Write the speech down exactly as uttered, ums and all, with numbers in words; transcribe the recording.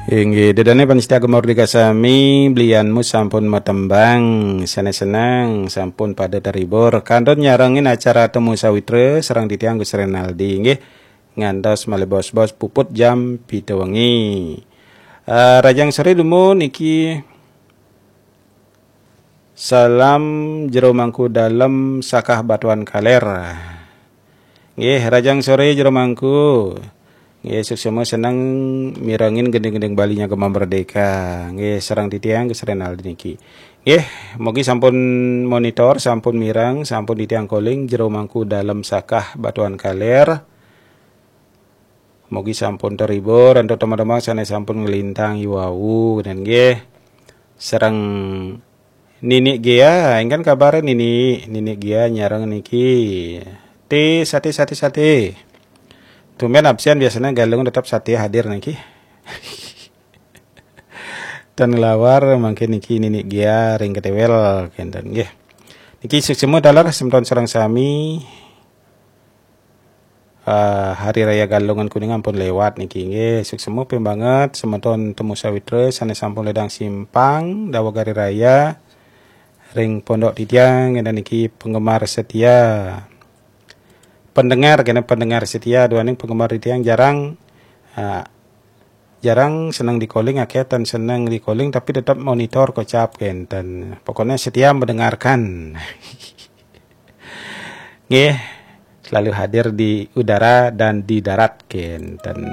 Inggih, ida dané pamiarsa Gema Merdeka sami, belianmu sampun matembang, sané seneng, sampun pada terhibur. Kantun nyarengin acara Temu Sawitra, sareng titiang Gus Renaldi, inggih. Ngantos malih bos-bos puput jam pitu wengi. Eh, rahajeng soré dumun niki. Salam Jero Mangku Dalem Sakah Batuan Kaler. Nggih, rahajeng soré Jero Mangku. Nggih, suksma seneng mirengin gending-gending Balinya Gema Merdeka. Nggih, sareng titiang Gus Renaldi niki. Nggih, mugi sampun monitor, sampun mireng, sampun titiang calling Jero Mangku Dalem Sakah Batuan Kaler. Mugi sampun terhibur antuk teman-teman sané sampun nglintang i wau, dan nggih sareng Nini Gia, ingkang kabar Nini, Nini Gia nyareng niki. Ti sate, sate, sate. Tumben absen, biasanya Galungan tetap sate hadir niki. Dan nglawar mangkin niki Nini Gia ring ketéwél kénten nggih. Niki suksma taler semeton sareng sami. Eh, Hari Raya Galungan Kuningan pun lewat niki nggih. Suksma ping banget semeton Temu Sawitra sané sampun ledang simpang daweg Hari Raya, ring pondok titiang, kénten niki penggemar setia. Pendengar, kénten pendengar setia, duaning penggemar titiang jarang, eh, jarang seneng di-calling, akéh tan seneng di-calling, tapi tetap monitor kocap kénten. Pokoknya setia mendengarkan. Nggih, selalu hadir di udara dan di darat kénten.